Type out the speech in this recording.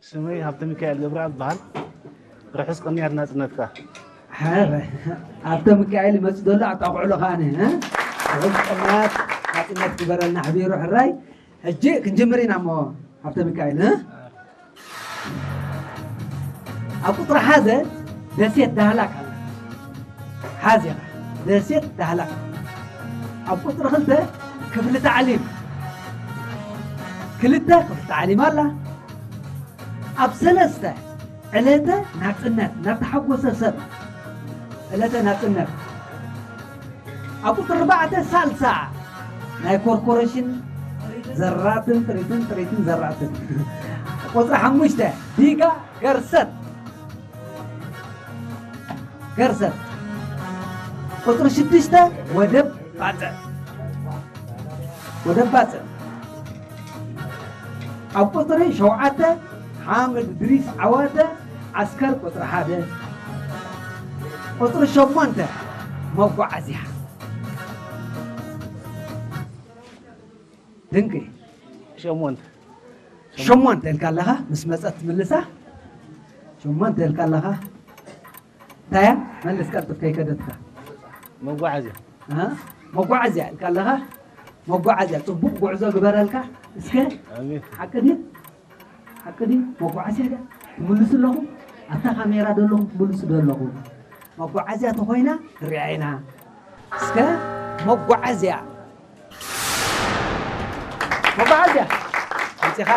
ስመይ ሃብተ ሚካኤል ገብረኣብ በሃል። ርሑስ ቅንያት ናጽነትካ። ሓረ ኣብተ ሚካኤል ይመጽእ ዘሎ ኣጣቕዕሎ ከኣነ ርሑስ ቅንያት ናጽነት ግበረልና። ሕቢሩ ሕራይ ሕጂ ክንጅምር ኢና እሞ ሃብተ ሚካኤል ኣብ ቁፅሪ ሓደ ደሴት ዳህላክ ኣላ። ሓዚኻ ደሴት ዳህላክ። ኣብ ቁፅሪ ክልተ ክፍሊ ታዕሊም ክልተ ክፍሊ ታዕሊም ኣላ። ኣብ ሰለስተ ዕለተ ናፅነት ናተሓጎሰ ሰብ ዕለተ ናፅነት ኣብ ቁፅሪ ኣርባዕተ ሳልሳ ናይ ኮርፖሬሽን ዘራትን ጥሪትን ጥሪትን ዘራትን ቁፅሪ ሓሙሽተ ዲጋ ገርሰት ገርሰት ቁፅሪ ሽዱሽተ ወደብ ባፅዕ ወደብ ባፅዕ ኣብ ቁፅሪ ሸውዓተ ሓምድ ድሪስ ዓዋተ ዓስከር ቁፅሪ ሓደ ቁፅሪ ሸሞንተ መጓዓዝያ ድንቂ ሸሞንተ ሸሞንተ ኢልካ ኣለኻ ምስ መፀት ትምልሳ ሸሞንተ ኢልካ ኣለኻ እንታይ እያ መልስ ቀልጥፍ ከይከደትካ መጓዓዝያ መጓዓዝያ ኢልካ ኣለኻ መጓዓዝያ ፅቡቅ ጉዕዞ ግበረልካ እስከ ሓቂ ድዩ ሓቂ ድዩ መጓዓዝያ ድያ ትምልሱ ኣለኹም ኣብታ ካሜራ ዶ ኣለኹም ትምልሱ ዶ ኣለኹም መጓዓዝያ ተኾይና ንሪኣ ኢና እስከ መጓዓዝያ መጓዓዝያ